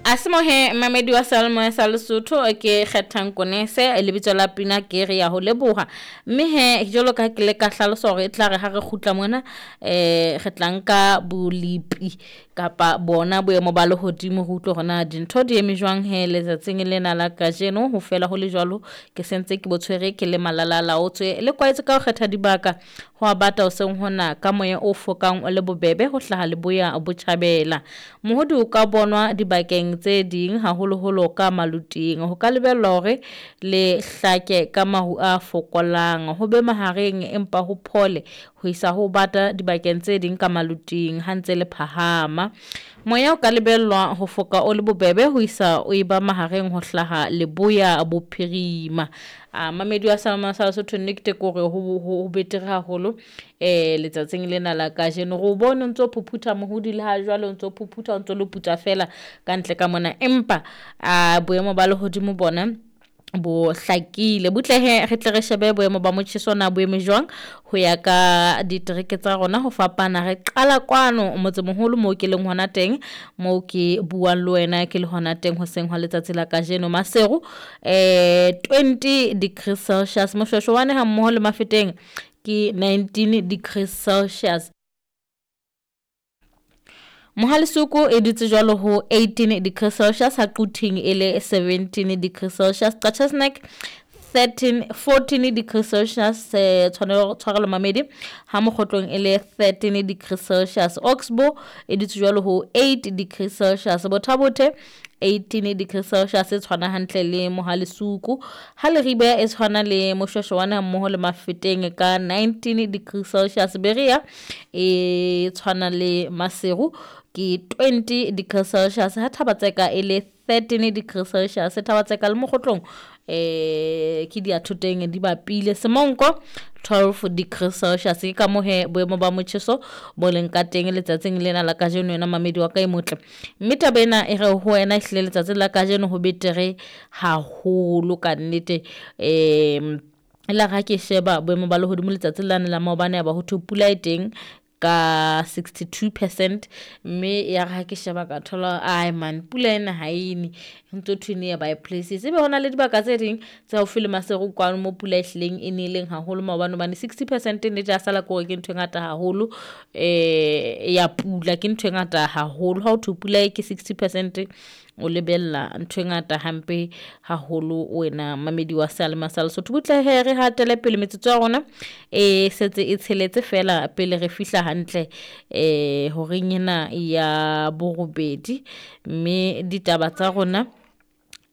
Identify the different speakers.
Speaker 1: Asimohe mamedi wa Salmo sa Lesotho ke kgethang konese lebitso la pina ke re ya ho leboha mme he jwalo ka ke le ka hlalosa hore e tla re ha re kgutla mona re tla nka bolipi kapa bona boemo ba lehodimo ho utlwe hore na dintho di eme jwang he letsatsing lena la kajeno. Ho fela ho le jwalo ke sentse ke bo tshwere ke le malala laotswe le kwaetse ka ho kgetha dibaka ho a bata hoseng hona ka moya o fokang o le bobebe ho hlaha leboya botjhabela. Mohodi o ka bonwa dibakeng tse ding haholoholo ka maluting. Ho ka lebellwa hore le hlake ka maru a fokolang, ho be mahareng empa ho phole ho isa ho bata dibakeng tse ding ka maluting ha ntse le phahama. Moya o ka lebellwa ho foka o le bobebe ho isa o eba mahareng ho hlaha leboya bophirima. A mamedi wa Salma sa Lesotho nnete ke hore ho betere haholo letsatsing lena la kajeno. Re o bone o ntso phuphutha mohodi le ha jwale o ntso phuphutha o ntso le putsa fela ka ntle ka mona, empa a boemo ba lehodimo bona bo hlakile. Butle he re tle re shebe boemo ba motjheso na bo eme jwang ho ya ka ditereke tsa rona ho fapana. Re qala kwano motsemoholo moo ke leng hona teng, moo ke buang le wena ke le hona teng hoseng hwa letsatsi la kajeno. Maseru 20 degrees Celsius, Moshweshwane ha mmoho le Mafeteng ke 19 degrees Celsius. Mohalesuku e dutse jwalo ho 18 degrees Celsius, ha Quthing e le 17 degrees Celsius, Qacha's Nek 13 14 degrees Celsius, tshwarelo mamedi, ha Mokgotlong e le 13 degrees Celsius, Oxbow e dutse jwalo ho 8 degrees Celsius, Bothabothe 18 degrees Celsius e tshwana hantle le Mohalesuku, ha Leribe e tshwana le Moshweshwane mmoho le Mafeteng ka 19 degrees Celsius, Berea e tshwana le Maseru ke 20 degrees Celsius, ha Thabatseka e le 13 degrees Celsius, Thabatseka le Mokgotlong ke diathoteng di bapile. Semonko 12 degrees Celsius. Ke ka mohe boemo ba motjheso bo leng ka teng letsatsing lena la kajeno yena mamedi wa ka e motle. Mme taba ena e re ho wena ehlile letsatsing la kajeno ho betere haholo ka nnete. La ha ke sheba boemo ba lehodimo letsatsing lane la maobane ya ba ho thwe pula e teng ka 62%, mme ya re ha ke sheba ka thola ai man pula ena ha ene, ntso thwe nearby places. Ebe hona le dibaka tse ding tse haufi le Maseru kwano mo pula e hlileng e neleng haholo maobane, hobane 60% nnete ya sala ke hore ke ntho e ngata haholo ya pula, ke ntho e ngata haholo. Ha ho thwe pula e ke 60% o lebella ntho e ngata hampe haholo wena mamedi wa Salma sa Lesotho. Butle he re hatele pele metsotso ya rona e setse e tsheletse fela pele re fihla hantle horeng ena ya borobedi, mme ditaba tsa rona